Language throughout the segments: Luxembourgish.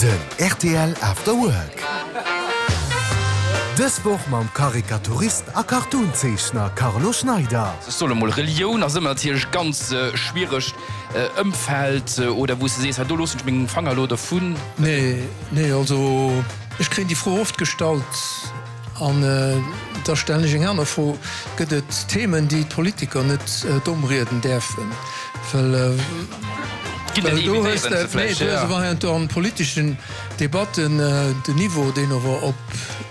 Den rtl After Work. Dës Woch mam Karikaturist a Cartoonzeechner Carlo Schneider. Ech soen emol, Relioun ass ëmmer natierlech e ganz schwieregt Ëmfeld, oder wou s de sees, hei do loossen ech meng Fanger elo dovun. Nee, nee, also ech kréien déi Fro oft gestallt an da stellen ech eng aner Fro, Gëtt et Themen, déi d'Politiker net domm rieden däerfen? Well do hues de, nee, do hues de heiansdo an politeschen Debatten den Niveau, deen ower op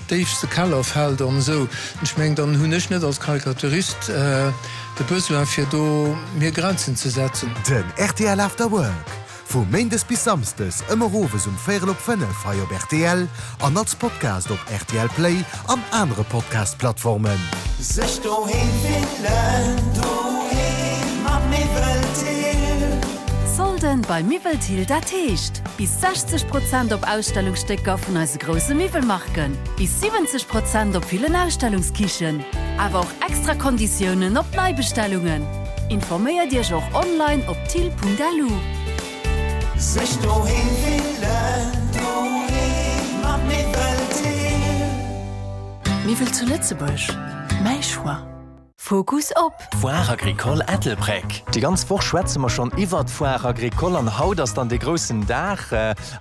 déifste Keller fält an esou. Ech mengen, dann hunn ech net als Karikaturist de Besoin, fir do mir Grenzen ze setzen. Den rtl After Work Vu Méindes bis Samsdes ëmmer owes um véierel op 5 hei op rtl an als Podcast op rtl Play an anere Podcast-Plattformen. Sech doheem fillen, doheem mat Miwwel Thill. Solden bei Miwwel Thill, dat heescht bis 60 Prozent op Ausstellungsstécker vun eise grousse Miwwelmarken, bis 70 Prozent op villen Ausstellungskichen, awer och extra Konditiounen op Neibestellungen. Informéiert Iech och online op thill.lu. Sech doheem fillen, doheem mat Miwwel Thill. Miwwel zu Lëtzebuerg, mäi Choix. Fokus op. D'Foire Agricole Ettelbréck. Déi ganz Woch schwätze mer schonn iwwert d'Foire Agricole an haut ass dann dee groussen Dag.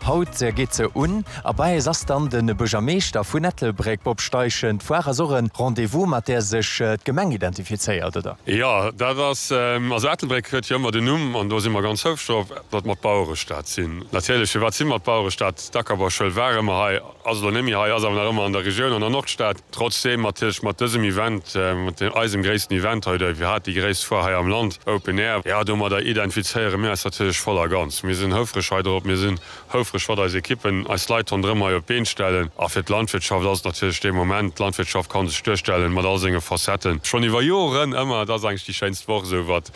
Haut geet se un a bei eis ass dann de Buergermeeschter vun Ettelbréck, Bob Steichen. D'Foire ass och e Rendez-vous, mat där sech d'Gemeng identifizéiert, oder? Jo, dat ass, also Ettelbréck huet jo ëmmer den Numm, an do si mer ganz houfreg drop, datt mer d'Bauerestad sinn. Natierlech, firwat si mer d'Bauerestad? D'Ackerbauschoul war ëmmer hei, ass elo net méi hei, ass awer nach ëmmer an der Regioun, an der Nordstad. Trotzdeem natierlech mat dësem Event, mat eisem gréissten Event hei, oder iwwerhaapt déi gréisst Foire hei am Land, Open Air, jo, domadder identifizéiere mir eis natierlech voll a ganz. Mir sinn houfreg hei drop, mir sinn houfreg, wat eis Ekippen, eis Leit ronderëm hei op d'Been stellen. A fir d'Landwirtschaft ass et natierlech dee Moment, d'Landwirtschaft ka sech duerstellen, mat all senge Facetten, schonn iwwer Joren ëmmer, et ass eigentlech déi schéinst Woch esou wat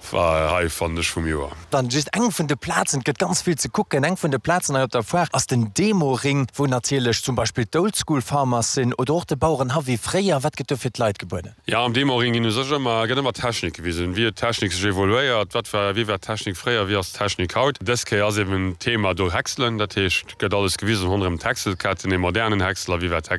hei, fannen ech, vum Joer. Dann just eng vun de Plazen, et gëtt ganz vill ze kucken, eng vun de Plazen hei op der Foire ass den Demo-Ring, wou natierlech zum Beispill d'Old School Farmers sinn oder och de Bauerenhaff wéi fréier. Wat gëtt do fir d'Leit gebueden? Jo, am Demo-Ring ginn u sech ëmmer, gëtt ëmmer d'Technik gewisen, wéi huet d'Technik sech evoluéiert, wat war, wéi war d'Technik fréier, wéi ass d'Technik haut. Dës Kéier ass eben d'Thema do Häckselen, dat heescht, gëtt alles gewisen ronderëm d'Häckselketten, ee modernen Häcksler, wéi war.